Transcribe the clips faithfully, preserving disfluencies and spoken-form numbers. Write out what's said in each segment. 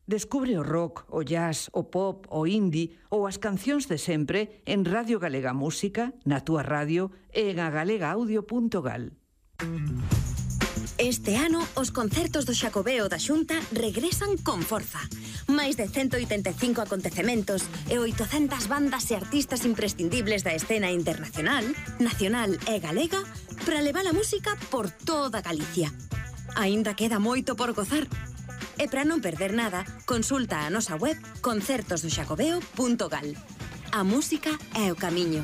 Descubre o rock, o jazz, o pop, o indie ou as cancións de sempre en Radio Galega Música, na túa radio e en agalegaaudio punto gal. Este ano, os concertos do Xacobeo da Xunta regresan con forza. Máis de ciento oitenta e cinco acontecementos e oitocentas bandas e artistas imprescindibles da escena internacional, nacional e galega para levar a música por toda Galicia. Aínda queda moito por gozar. E para non perder nada, consulta a nosa web concertos do xacobeo punto gal. A música é o camiño.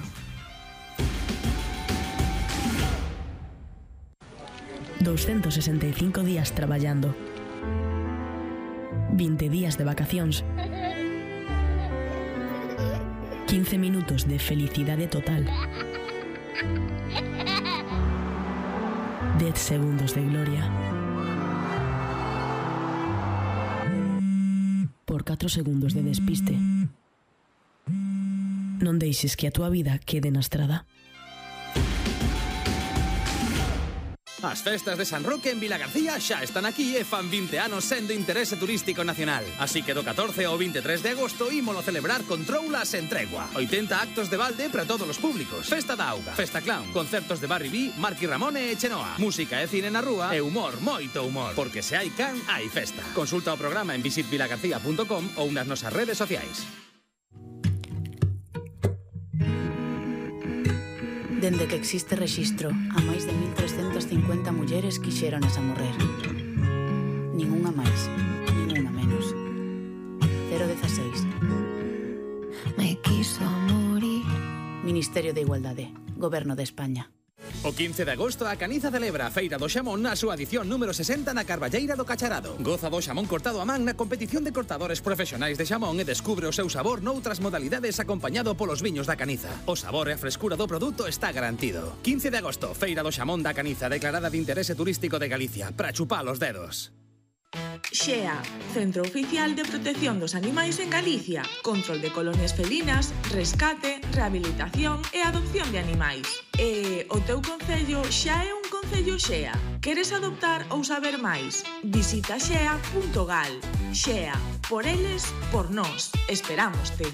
doscientos sesenta y cinco días traballando. veinte días de vacacións. quince minutos de felicidade total. diez segundos de gloria. Por catro segundos de despiste. Non deixes que a túa vida quede na estrada. As festas de San Roque en Vilagarcía xa están aquí e fan vinte anos sendo interese turístico nacional. Así que do catorce ao veintitrés de agosto ímolo celebrar con troulas en tregua. oitenta actos de balde para todos os públicos. Festa da auga, festa clown, concertos de Barry B, Marky Ramone e Chenoa. Música e cine na rúa e humor, moito humor. Porque se hai can, hai festa. Consulta o programa en visit vilagarcía punto com ou nas nosas redes sociais. Dende que existe rexistro, a máis de mil trescentas cincuenta mulleres quixéronas a morrer. Ninguna máis, ninguna menos. cero dieciséis. Me quiso morir. Ministerio de Igualdade, Goberno de España. O quince de agosto a Caniza celebra a Feira do Xamón na súa edición número sesenta na Carballeira do Cacharado. Goza do xamón cortado a man na competición de cortadores profesionais de xamón e descubre o seu sabor noutras modalidades acompañado polos viños da Caniza. O sabor e a frescura do produto está garantido. quince de agosto, Feira do Xamón da Caniza, declarada de interese turístico de Galicia, para chupar os dedos. Xea, Centro Oficial de Protección dos Animais en Galicia. Control de colonias felinas, rescate, rehabilitación e adopción de animais. E o teu concello xa é un concello Xea. Queres adoptar ou saber máis? Visita xea punto gal. Xea, por eles, por nós. Esperámoste.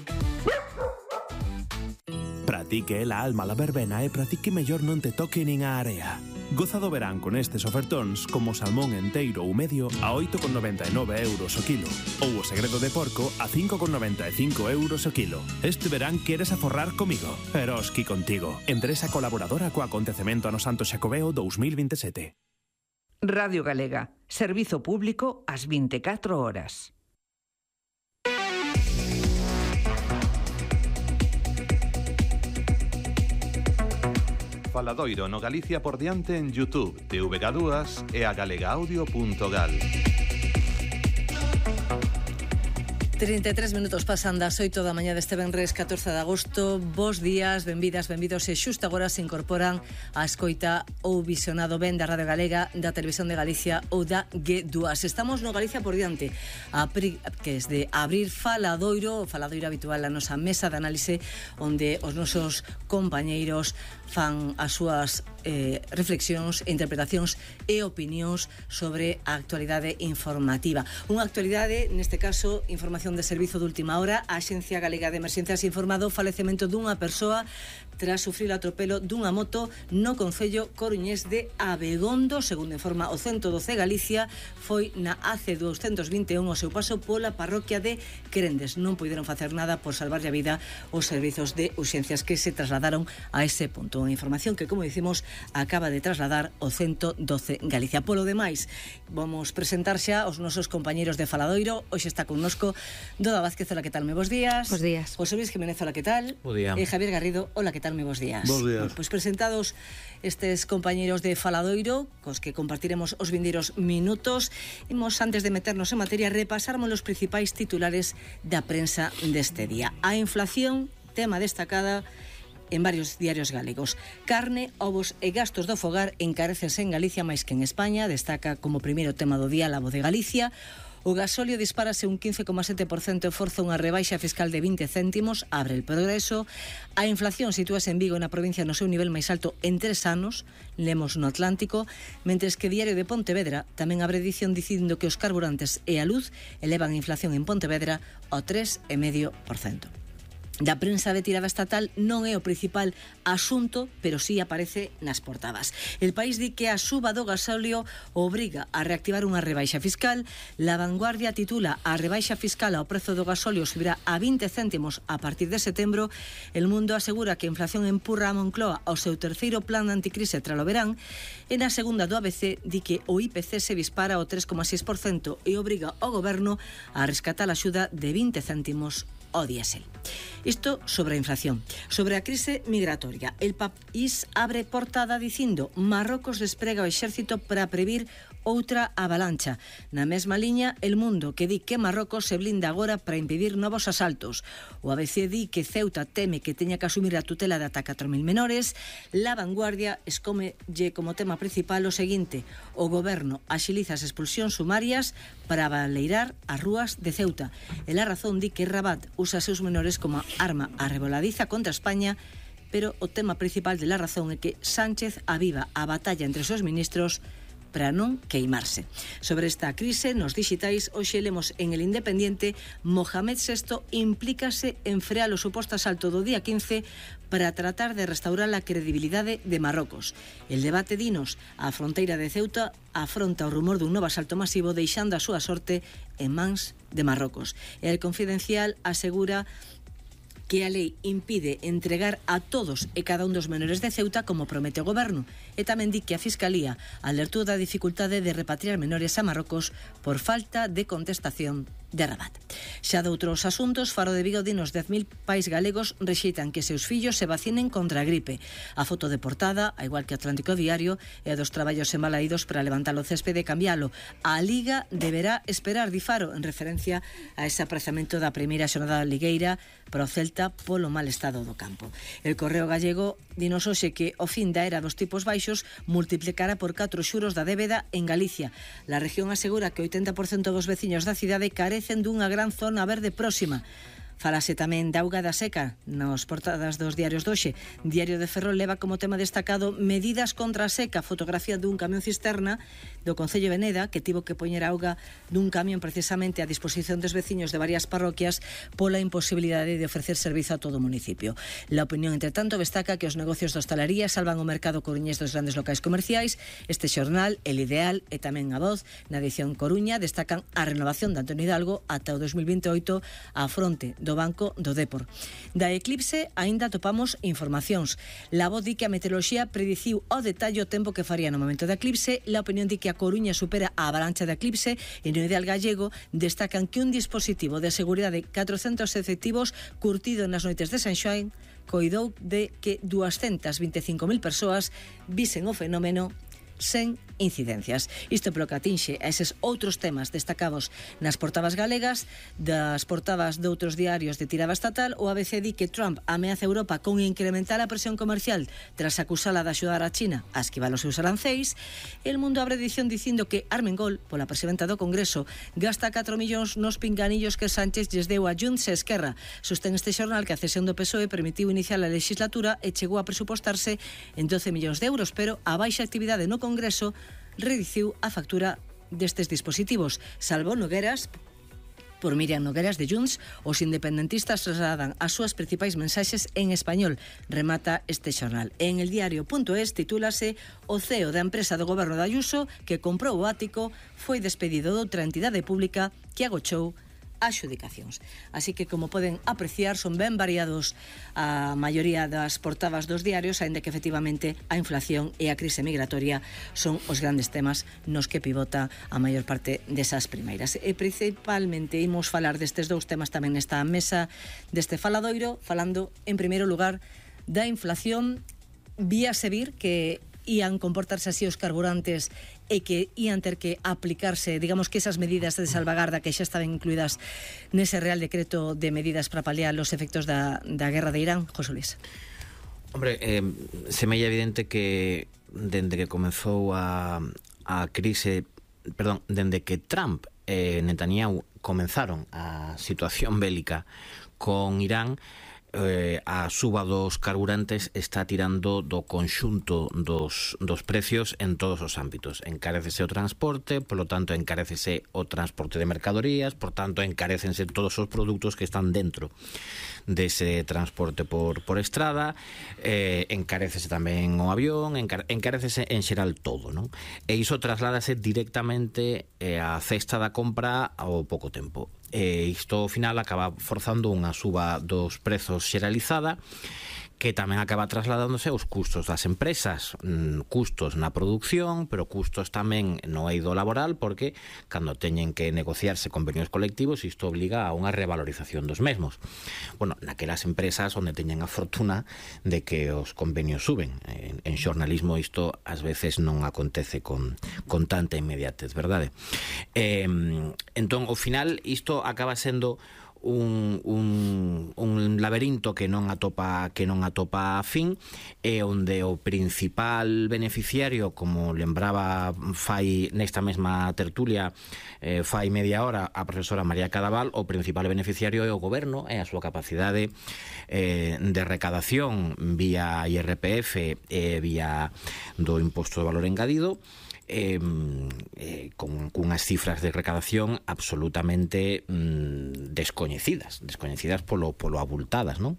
Pratique la alma la verbena e pratique mellor non te toque nin a area. Goza do verán con estes ofertóns como salmón enteiro ou medio a oito con noventa e nove euros o kilo ou o segredo de porco a cinco con noventa e cinco euros o kilo. Este verán queres aforrar comigo? Eroski contigo. Empresa colaboradora co acontecemento ano Santo Xacobeo dous mil veintisiete. Radio Galega, servizo público ás veinticuatro horas. Faladoiro no Galicia por diante en YouTube, T V G dúas e a galegaaudio punto gal. trinta e tres minutos pasan das oito da mañá deste venres catorce de agosto. Bos días, benvidas, benvidos e xusto agora se incorporan a escoita ou visionado ben da Radio Galega, da Televisión de Galicia ou da G dúas. Estamos no Galicia por diante, a pri, que es de abrir Faladoiro, o Faladoiro habitual, a nosa mesa de análise onde os nosos compañeiros fan as súas eh, reflexións, interpretacións e opinións sobre a actualidade informativa. Unha actualidade, neste caso, información de servizo de última hora. A Axencia Galega de Emerxencias informado o falecemento dunha persoa tras sufrir o atropelo dunha moto no concello coruñés de Abegondo. Segundo informa o ciento doce Galicia, foi na A C doscientos vinte e un o seu paso pola parroquia de Querendes. Non puideron facer nada por salvarlle a vida os servizos de urxencias que se trasladaron a ese punto. Unha información que, como dicimos, acaba de trasladar o ciento doce Galicia. Polo demais, vamos presentar xa os nosos compañeiros de Faladoiro. Hoxe está connosco Doda Vázquez, hola, que tal? Me bos días. Bos días. José Luis Jiménez, hola, que tal? Bo día. E Javier Garrido, hola, que tal? Me bos días. Bos días. Bueno, pois presentados estes compañeiros de Faladoiro, cos que compartiremos os vindeiros minutos, imos, antes de meternos en materia, repasarmos os principais titulares da prensa deste día. A inflación, tema destacada en varios diarios galegos. Carne, ovos e gastos do fogar encarecense en Galicia máis que en España, destaca como primeiro tema do día La Voz de Galicia. O gasóleo dispárase un quince coma sete por cento e forza unha rebaixa fiscal de vinte céntimos, abre el progreso. A inflación sitúase en Vigo, na provincia, no seu nivel máis alto en tres anos, lemos no Atlántico, mentres que Diario de Pontevedra tamén abre edición dicindo que os carburantes e a luz elevan a inflación en Pontevedra ao tres coma cinco por cento. Da prensa de tirada estatal non é o principal asunto, pero sí aparece nas portadas. El País di que a suba do gasóleo obriga a reactivar unha rebaixa fiscal. La Vanguardia titula: a rebaixa fiscal ao prezo do gasóleo subirá a vinte céntimos a partir de setembro. El Mundo asegura que a inflación empurra a Moncloa ao seu terceiro plan de anticrise tralo verán. E na segunda do A B C di que o I P C se dispara ao tres coma seis por cento e obriga ao goberno a rescatar a axuda de vinte céntimos o diésel. Isto sobre a inflación. Sobre a crise migratoria, El País abre portada dicindo: Marrocos desprega o exército para previr outra avalancha. Na mesma liña, El Mundo, que di que Marrocos se blinda agora para impedir novos asaltos. O A B C di que Ceuta teme que teña que asumir a tutela de ata catro mil menores. La Vanguardia escómelle como tema principal o seguinte: o goberno axiliza as expulsións sumarias para baleirar as rúas de Ceuta. E La Razón di que Rabat usa seus menores como arma arreboladiza contra España, pero o tema principal de La Razón é que Sánchez aviva a batalla entre os seus ministros para non queimarse. Sobre esta crise nos dixitais, hoxe lemos en El Independiente: Mohamed sexto implícase en frear o suposto asalto do día quince para tratar de restaurar a credibilidade de Marrocos. El debate dinos: a fronteira de Ceuta afronta o rumor dun novo asalto masivo, deixando a súa sorte en mans de Marrocos. E El Confidencial asegura que a lei impide entregar a todos e cada un dos menores de Ceuta como promete o goberno, e tamén di que a Fiscalía alertou da dificultade de repatriar menores a Marrocos por falta de contestación de Rabat. Xa de outros asuntos, Faro de Vigo dinos dez mil pais galegos rexeitan que seus fillos se vacinen contra a gripe. A foto de portada, a igual que Atlántico Diario, é a dos traballos embalaídos para levantar o céspede e cambialo. A Liga deberá esperar, di Faro, en referencia a ese aprazamento da primeira xornada ligueira para o Celta polo mal estado do campo. El Correo Gallego dinos hoxe que o fin da era dos tipos baixos multiplicará por catro xuros da débeda en Galicia. La región asegura que o oitenta por cento dos veciños da cidade carecen dunha gran zona verde próxima. Falase tamén da auga da seca nos portadas dos diarios doxe. Diario de Ferrol leva como tema destacado medidas contra a seca, fotografía dun camión cisterna do Concello de Veneda que tivo que poñer auga dun camión precisamente a disposición dos veciños de varias parroquias pola imposibilidade de ofrecer servizo a todo o municipio. La Opinión, entre tanto, destaca que os negocios de hostalería salvan o mercado coruñés dos grandes locais comerciais. Este xornal, El Ideal e tamén A Voz, na edición Coruña, destacan a renovación de Antonio Hidalgo ata o dos mil vinte e oito á fronte do Banco do Dépor. Da eclipse aínda topamos informacións. La Voz di que a meteoroloxía prediciu ao detalle o tempo que faría no momento da eclipse. La Opinión di que a Coruña supera a avalancha da eclipse e no Ideal Gallego destacan que un dispositivo de seguridade de catrocentos efectivos curtido nas noites de San Xoán coidou de que duascentas vinte e cinco mil persoas visen o fenómeno sen incidencias. Isto polo que atinxe a eses outros temas destacados nas portadas galegas. Das portadas de outros diarios de tirada estatal, o A B C di que Trump ameaza a Europa con incrementar a presión comercial tras acusala de axudar a China a esquivar os seus aranceis. El Mundo abre edición dicindo que Armengol, pola presidenta do Congreso, gasta catro millóns nos pinganillos que Sánchez lles deu a Junts e Esquerra. Sostén este xornal que a cesión do P S O E permitiu iniciar a legislatura e chegou a presupostarse en doce millóns de euros, pero a baixa actividade no Congreso reduciu a factura destes dispositivos. Salvo Nogueras, por Miriam Nogueras de Junts, os independentistas trasladan as súas principais mensaxes en español, remata este xornal. En el diario.es titúlase: o C E O da empresa do goberno de Ayuso que comprou o ático foi despedido de outra entidade pública que agochou adxudicacións. Así que, como poden apreciar, son ben variados a maioría das portadas dos diarios, aínda que efectivamente a inflación e a crise migratoria son os grandes temas nos que pivota a maior parte desas primeiras. E principalmente imos falar destes dous temas tamén nesta mesa deste faladoiro, falando en primeiro lugar da inflación. Víase vir que ían comportarse así os carburantes e que ían ter que aplicarse, digamos que esas medidas de salvagarda que xa estaban incluídas nese Real Decreto de medidas para paliar os efectos da, da guerra de Irán. José Luis. Hombre, eh, semella evidente que dende que comezou a, a crise, perdón, dende que Trump eh, Netanyahu comenzaron a situación bélica con Irán, eh, a suba dos carburantes está tirando do conxunto dos, dos precios en todos os ámbitos. Encarécese o transporte, polo tanto encarécese o transporte de mercadorías, por tanto encarécense todos os produtos que están dentro dese transporte por, por estrada, eh, encarécese tamén o avión, encar encarécese en xeral todo, non? E iso trasládase directamente eh, á cesta da compra ao pouco tempo. E isto ao final acaba forzando unha suba dos prezos xeralizada, que tamén acaba trasladándose aos custos das empresas, custos na produción, pero custos tamén no eido laboral, porque cando teñen que negociarse convenios colectivos, isto obliga a unha revalorización dos mesmos. Bueno, naquelas empresas onde teñen a fortuna de que os convenios suben. En, en xornalismo isto ás veces non acontece con, con tanta inmediatez, verdade? Eh, entón, ao final, isto acaba sendo Un, un, un laberinto que non atopa que non atopa a fin, e onde o principal beneficiario, como lembraba fai nesta mesma tertulia eh, fai media hora a profesora María Cadaval, o principal beneficiario é o goberno, é a súa capacidade eh, de recadación vía I R P F e vía do imposto de valor engadido, Eh, eh, con unhas cifras de recadación absolutamente mm, descoñecidas, descoñecidas polo, polo abultadas, non?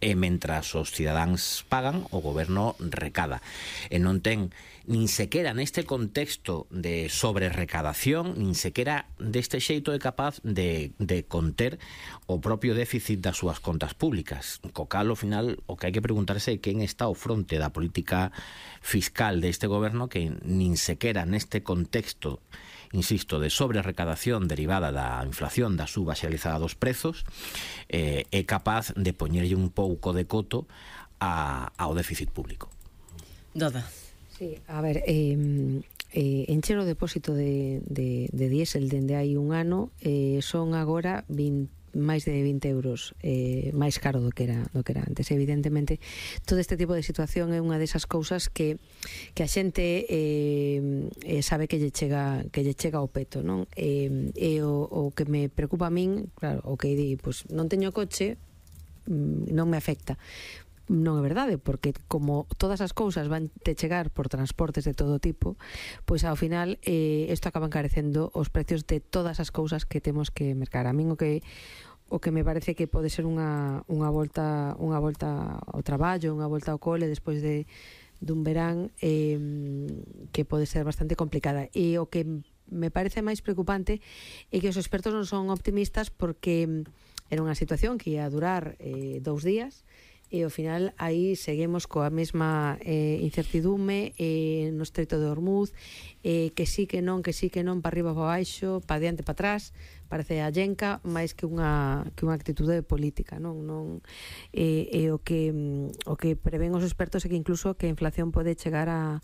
E mentras os cidadáns pagan, o goberno recada. E non ten nin sequera neste contexto de sobrerecadación, nin sequera deste xeito é capaz de, de conter o propio déficit das súas contas públicas. Co cal, ao final, o que hai que preguntarse é quen está ao fronte da política fiscal deste goberno, que nin sequera neste contexto, insisto, de sobrerecadación derivada da inflación, da suba xeralizada dos prezos, eh, é capaz de poñerlle un pouco de coto a, ao déficit público. Doda. Sí, a ver, eh, eh, encher o depósito de, de, de diésel dende hai un ano eh, son agora vinte máis de vinte euros eh, máis caro do que era do que era antes. Evidentemente, todo este tipo de situación é unha desas cousas que que a xente eh, eh, sabe que lle chega que lle chega ao peto, non? Eh, e o, o que me preocupa a min, claro, o que di, pois non teño coche, non me afecta. Non é verdade, porque como todas as cousas van te chegar por transportes de todo tipo, pois ao final eh, isto acaba encarecendo os precios de todas as cousas que temos que mercar. A min o que o que me parece que pode ser unha, unha volta unha volta ao traballo, unha volta ao cole despois de dun verán eh, que pode ser bastante complicada. E o que me parece máis preocupante é que os expertos non son optimistas, porque era unha situación que ia durar eh, dous días, e ao final aí seguimos coa mesma eh, incertidume eh, no Estreito de Hormuz, eh, que sí que non, que sí que non, para arriba, para baixo, para diante, para atrás. Parece a llenca máis que unha que unha actitude política, non, non e, e o que o que prevén os expertos é que incluso que a inflación pode chegar a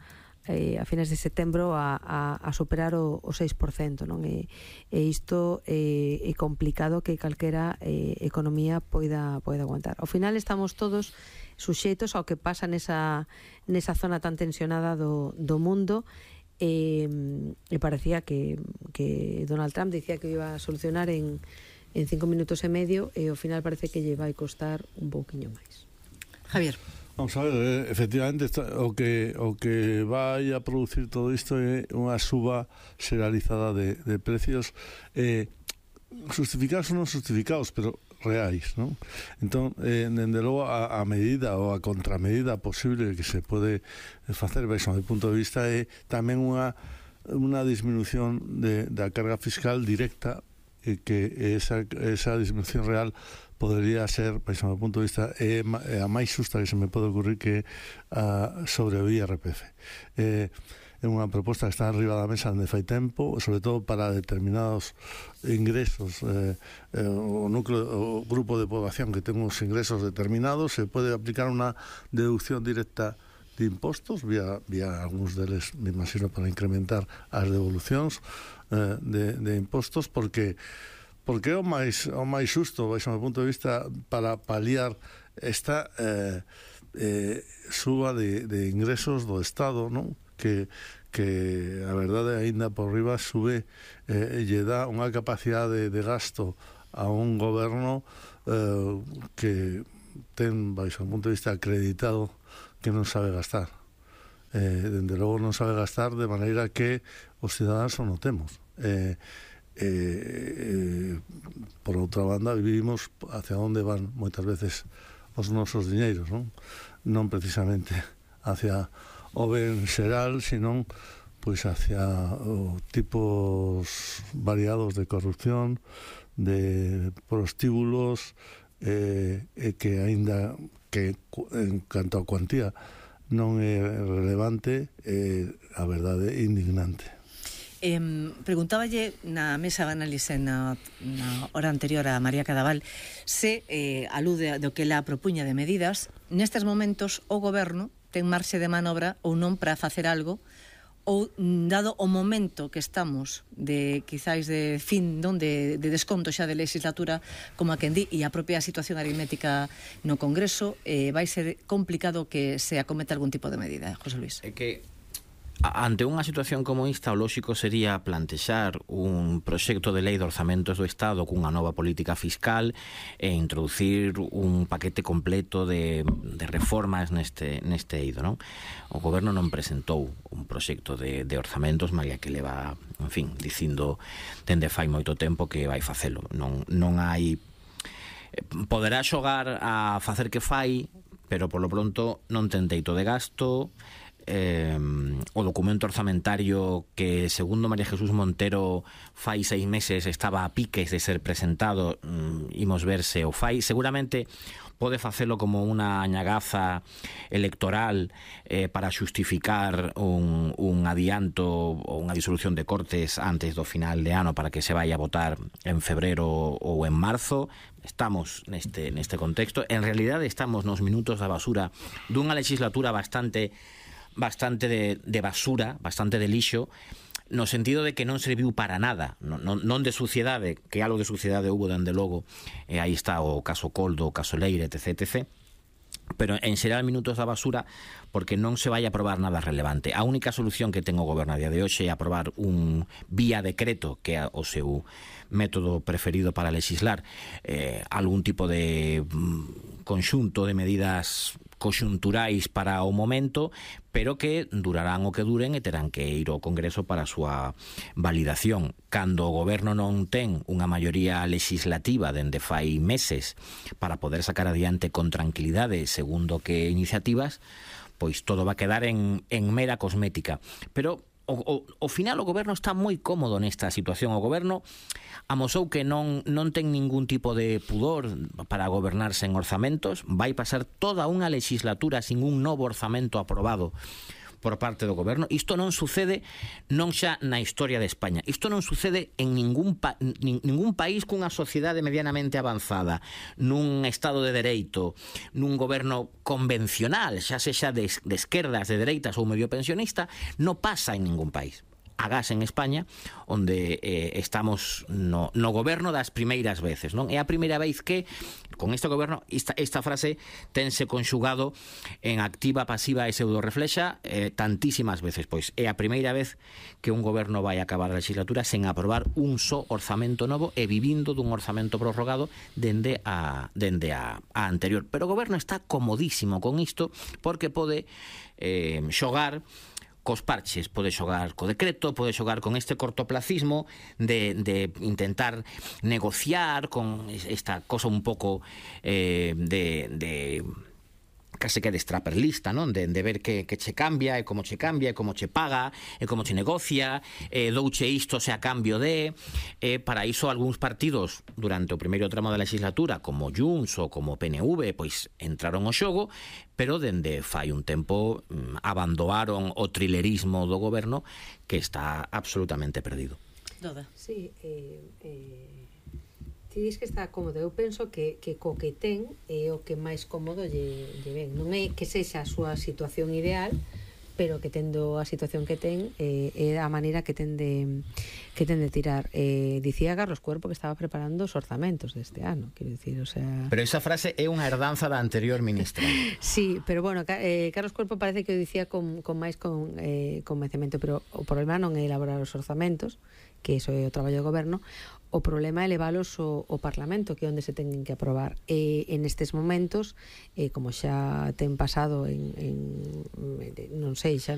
Eh, a fines de setembro a, a, a superar o, o seis por cento, non? E, e isto eh, é complicado que calquera eh, economía poida, poida aguantar. Ao final estamos todos suxeitos ao que pasa nesa, nesa zona tan tensionada do, do mundo, e, e parecía que, que Donald Trump dicía que iba a solucionar en, en cinco minutos e medio, e ao final parece que lle vai costar un pouquiño máis. Javier. Vamos a ver, eh, efectivamente está, o que o que vai a producir todo isto é unha suba xeralizada de, de precios, eh, justificados ou non justificados, pero reais, non? Entón, eh, dende logo a, a medida ou a contramedida posible que se pode facer, baixo do punto de vista, é tamén unha unha disminución de, da carga fiscal directa, e que esa, esa disminución real podería ser, baixo do punto de vista, é a máis xusta que se me pode ocurrir, que a, sobre o I R P F. É, é unha proposta que está arriba da mesa onde fai tempo, sobre todo para determinados ingresos. Eh, eh, o núcleo, o grupo de población que ten uns ingresos determinados, se pode aplicar unha deducción directa de impostos, vía, vía algúns deles, me imagino, para incrementar as devolucións eh, de, de impostos, porque porque é o máis, o máis xusto, baixo o punto de vista, para paliar esta eh, eh, suba de, de ingresos do Estado, non? Que, que a verdade aínda por riba sube eh, lle dá unha capacidade de gasto a un goberno eh, que ten, baixo o punto de vista acreditado, que non sabe gastar. Eh, dende logo non sabe gastar de maneira que os cidadáns o notemos. Eh, eh, eh, por outra banda, vivimos hacia onde van moitas veces os nosos diñeiros, non? Non precisamente hacia o ben xeral, senón pois hacia o tipos variados de corrupción, de prostíbulos, eh, e que aínda que en canto a cuantía non é relevante, eh, a verdade é indignante. Eh, preguntáballe na mesa de análise na, na hora anterior a María Cadaval se eh, alude do que ela propuña de medidas. Nestes momentos o goberno ten marxe de manobra ou non para facer algo, ou dado o momento que estamos de quizáis de fin, non de, de desconto xa de legislatura, como a quen di, e a propia situación aritmética no Congreso, eh, vai ser complicado que se acometa algún tipo de medida, José Luis. É que ante unha situación como esta, o lóxico sería plantexar un proxecto de lei de orzamentos do Estado cunha nova política fiscal e introducir un paquete completo de, de reformas neste, neste eido, non? O goberno non presentou un proxecto de, de orzamentos, malia que leva, en fin, dicindo dende fai moito tempo que vai facelo. Non, non hai... Poderá xogar a facer que fai, pero polo pronto non ten teito de gasto. Eh, o documento orzamentario que, segundo María Jesús Montero, fai seis meses estaba a piques de ser presentado, mm, imos ver se o fai. Seguramente pode facelo como unha añagaza electoral eh, para xustificar un, un adianto ou unha disolución de Cortes antes do final de ano para que se vaya a votar en febrero ou en marzo. Estamos neste, neste contexto. En realidade estamos nos minutos da basura dunha legislatura bastante bastante de, de basura, bastante de lixo, no sentido de que non serviu para nada, non, non de suciedade, que algo de suciedade hubo dende logo, e aí está o caso Coldo, o caso Leire, etc, etcétera, pero en xeral minutos da basura porque non se vai a aprobar nada relevante. A única solución que ten o goberno a día de hoxe é aprobar un vía decreto, que é o seu método preferido para legislar, eh, algún tipo de mm, conxunto de medidas conxunturais para o momento, pero que durarán o que duren e terán que ir ao Congreso para a súa validación. Cando o goberno non ten unha maioría legislativa dende fai meses para poder sacar adiante con tranquilidade segundo que iniciativas, pois todo va a quedar en, en mera cosmética. Pero O, o, o final o goberno está moi cómodo nesta situación. O goberno amosou que non, non ten ningún tipo de pudor para gobernar sen orzamentos. Vai pasar toda unha legislatura sin un novo orzamento aprobado por parte do goberno. Isto non sucede non xa na historia de España. Isto non sucede en ningún, pa, nin, ningún país cunha sociedade medianamente avanzada, nun estado de dereito, nun goberno convencional, xa sexa de, de esquerdas, de dereitas ou medio pensionista, non pasa en ningún país. Agás en España, onde eh, estamos no, no goberno das primeiras veces, non? É a primeira vez que, con este goberno, esta, esta frase tense conxugado en activa, pasiva e pseudo-reflexa eh, tantísimas veces, pois é a primeira vez que un goberno vai acabar a legislatura sen aprobar un só orzamento novo e vivindo dun orzamento prorrogado dende a, dende a, a anterior. Pero o goberno está comodísimo con isto porque pode eh, xogar cos parches, pode xogar co decreto, pode xogar con este cortoplacismo de, de intentar negociar con esta cosa un pouco eh, de... de case que de straperlista, non? De, de ver que, que che cambia e como che cambia e como che paga e como che negocia e douche isto se a cambio de e para iso algúns partidos durante o primeiro tramo da legislatura como Junts ou como P N V pois entraron ao xogo, pero dende fai un tempo abandonaron o trilerismo do goberno que está absolutamente perdido. Doda. Sí, eh, eh... ti dis que está cómodo, eu penso que, que co que ten é o que máis cómodo lle, lle ven. Non é que sexa a súa situación ideal, pero que tendo a situación que ten eh, é a maneira que ten de, que ten de tirar. Eh, dicía Carlos Cuerpo que estaba preparando os orzamentos deste ano, quero dicir, o sea... Pero esa frase é unha herdanza da anterior ministra. Sí, pero bueno, eh, Carlos Cuerpo parece que o dicía con, con máis con, eh, convencemento, pero o problema non é elaborar os orzamentos, que iso é o traballo do goberno. O problema é leválos ao, ao Parlamento, que é onde se teñen que aprobar. E en estes momentos, eh, como xa ten pasado en, en non sei, xa non